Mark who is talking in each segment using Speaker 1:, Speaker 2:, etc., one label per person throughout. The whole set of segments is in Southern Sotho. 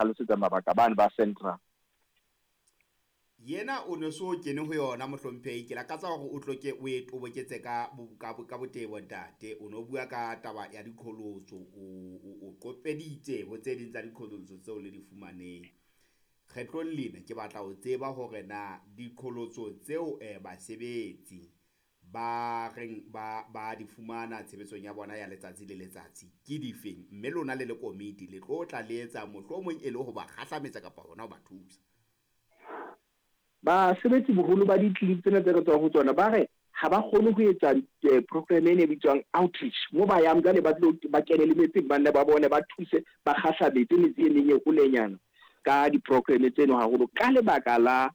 Speaker 1: Hlalosetsa mabaka bane ba Central.
Speaker 2: Yena o ne so kene ho yona, mohlomphehi. Ke lakatsa hore o tlo ke o e toboketse ka ka botebo, ntate. O no bua ka taba ya diqholotso, o qopeditse ho tse ding tsa diqholotso tseo le di fumaneng. Kgetlong lena ke batla ho tseba hore na diqholotso tseo basebetsi ba reng ba di fumana tshebetsong ya bona ya letsatsi le letsatsi ke difeng, mme lona le le komiti le tlo tla le etsa mohlomong e le ho ba kgahlametsa kapa hona ho ba thusa.
Speaker 1: Basebetsi boholo ba ditleliniki tsena tse re tswang ho tsona ba re ha ba kgone ho etsa program ena e bitswang outreach, mo ba yang jwale ba tlo ba kene le metseng, ba nne ba bone, ba thuse, ba kgahlametse metse e meng e holenyana ka di-program tseno, haholo ka lebaka la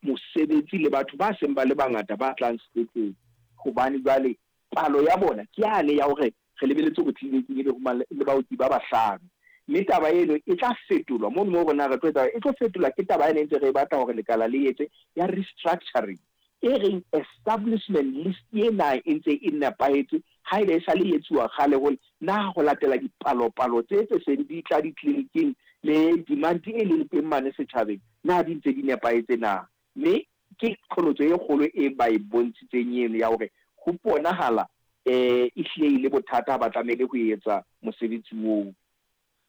Speaker 1: mosebetsi le batho ba seng ba le bangata ba tlang sepetlele, hobane jwale palo ya bona ke yane ya hore re lebeletse hore tleliniking ebe ho le baoki ba bahlano. Mme taba eno e tla fetolwa mono moo rona re tlo etsa, e tlo fetolwa ke taba ena e ntse re e batla hore lekala le etse ya restructuring, e reng establishment list ena e ntse e nepahetse haeba e sale e etsuwa kgale hole, na ho latela dipalopalo tse seng di tla ditleliniking le demand e leng teng mane setjhabeng, na di ntse di nepahetse na. Mme ke qholotso e kgolo e ba e bontshitseng eno ya hore ho bonahala e hlile e le bothata ha ba tlamehile ho etsa mosebetsi oo.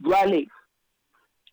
Speaker 1: Jwale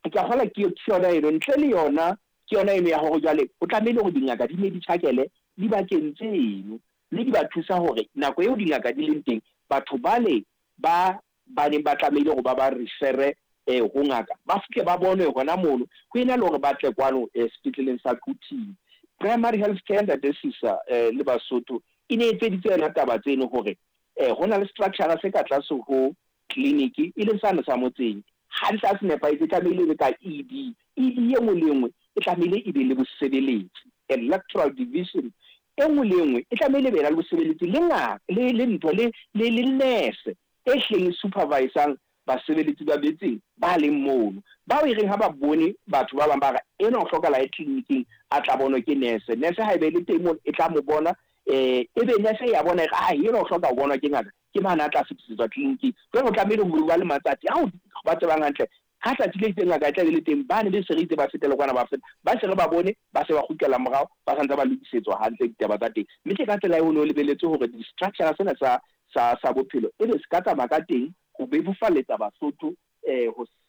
Speaker 1: ke a kgolwa ke yona eno, ntle le yona ke yona eno ya hore jwale ho tlamehile hore dingaka di ne di tjhakele dibakeng tseno, mme di ba thusa hore nako eo dingaka di leng teng, batho bale ba ba neng ba tlamehile hore ba ba refere ho ngaka ba fihle ba bonwe hona mono, ho ena le hore ba tle kwano sepetleleng sa Quthing. Primary health care, ntate Sisa le Basotho, e ne etseditse yona taba tseno hore ho na le structure se ka tlase ho clinic e leng sane sa motseng, hantle ha se nepahetse, e tlamehile e be ka ED. ED e nngwe le nngwe e tlamehile e be le bosebeletsi, electoral division e nngwe le nngwe e tlamehile e be na le bosebeletsi le ngaka le ntho le nurse e hleng e supervisang basebeletsi ba metseng ba leng mono, bao e reng ha ba bone batho ba bang ba re enwa o hlokahala aye tleliniking a tla bonwe ke nurse. Nurse haeba e le teng mono e tla mo bona, ebe nurse e ya bona e re ai enwa o hloka ho bonwa ke ngaka, ke mane a tla fetisetswa tleliniking. Jwale ho tlamehile ho ba le matsatsi ao ba tsebang hantle ka tsatsi le itseng ngaka e tla be le teng, bane be se re itse ba fetele kwana, ba feta ba se re ba bone, ba se ba kgutlela morao, ba santse ba lokisetswa hantle ditaba tsa teng. Mme ke ka tsela eo ho ne ho lebeletswe hore di-structure sena sa bophelo ebe se ka tsamaya ka teng ho bebofaletsa Basotho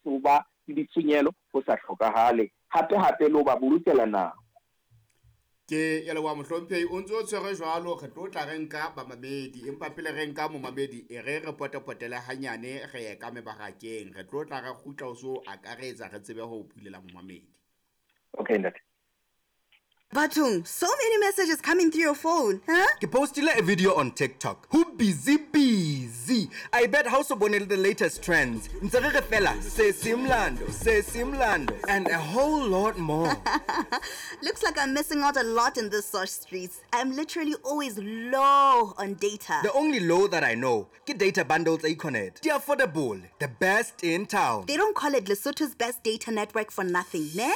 Speaker 1: ho ba le ditshenyehelo ho sa hlokahale, hape hape le ho ba bolokela nako.
Speaker 2: Ke ya leboha, mohlomphehi. O ntse o tshwere jwalo, re tlo tla re nka bamamedi, empa pele re nka momamedi e re re potepotele hanyane, re ye ka mebarakeng, re tlo tla re kgutla o so akaretsa, re tsebe ho bulela momamedi.
Speaker 1: Okay, ntate.
Speaker 3: Bathong, so many messages coming through your phone, huh?
Speaker 4: Ke postile a video on TikTok. Ho busy busy. I bet ha o so bone the latest trends. Ntse re re fela se mlando, se mlando and a whole lot more.
Speaker 3: Looks like I'm missing out a lot in the sosh streets. I'm literally always low on data.
Speaker 4: The only low that I know, ke data bundles Econet. Di affordable, the best in town.
Speaker 3: They don't call it Lesotho's best data network for nothing, ne?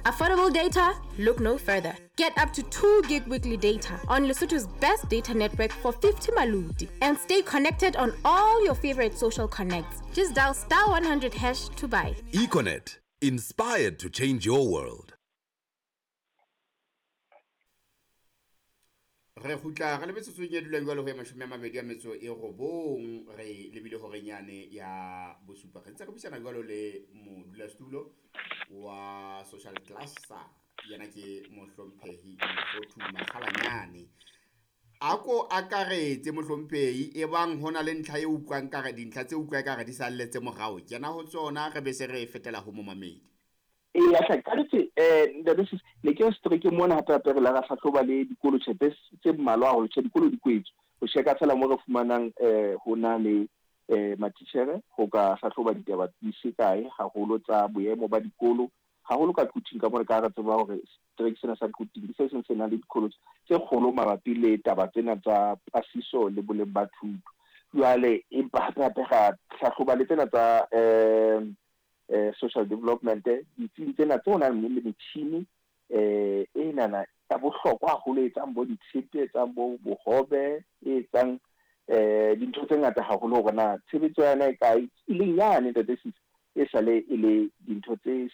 Speaker 5: Affordable data? Look no further. Get up to 2 gig weekly data on Lesotho's best data network for 50 maluti and stay connected on all your favorite social connects. Just dial star 100 hash to buy.
Speaker 6: Econet, inspired to change your world.
Speaker 2: Re kgutla re le metsotsong e dulang jwalo ho ya 29, re lebile horeng yane ya bosupa. Re ntse re buisana jwalo le modulasetulo wa social cluster, yena ke mohlomphehi Mokgothu Makgalanyane. A ko akaretse, mohlomphehi, e bang ho na le ntlha e utlwang kare dintlha tse utlwang kare di salletse morao, kena ho tsona, re be se re fetela ho momamedi.
Speaker 1: Eya hle, ka nnete, ntate Sisi, ne ke re seterekeng mona hape hape re la ra hlahloba le dikolo, tjhe, tse mmalwa haholo, tjhe, dikolo di kwetswe. Ho checka feela mo re fumanang ho na le matitjhere ho ka hlahloba ditaba di se kae haholo tsa boemo ba dikolo, haholo ka Quthing, ka mona ka re tseba hore setereke sena sa Quthing ke se seng se nang le dikolo tse kgolo mabapi le taba tsena tsa pasiso le boleng ba thuto. Jwale empa hape hape ra hlahloba le tsena tsa social development, ditsing tsena tse nang le metjhini e nana ya bohlokwa haholo, e etsang bo ditshepe, e etsang bo bohobe, e etsang dintho tse ngata haholo, hore na tshebetso ya yona e kae, e leng yane ntate Sisi. E sale e le dintho tse.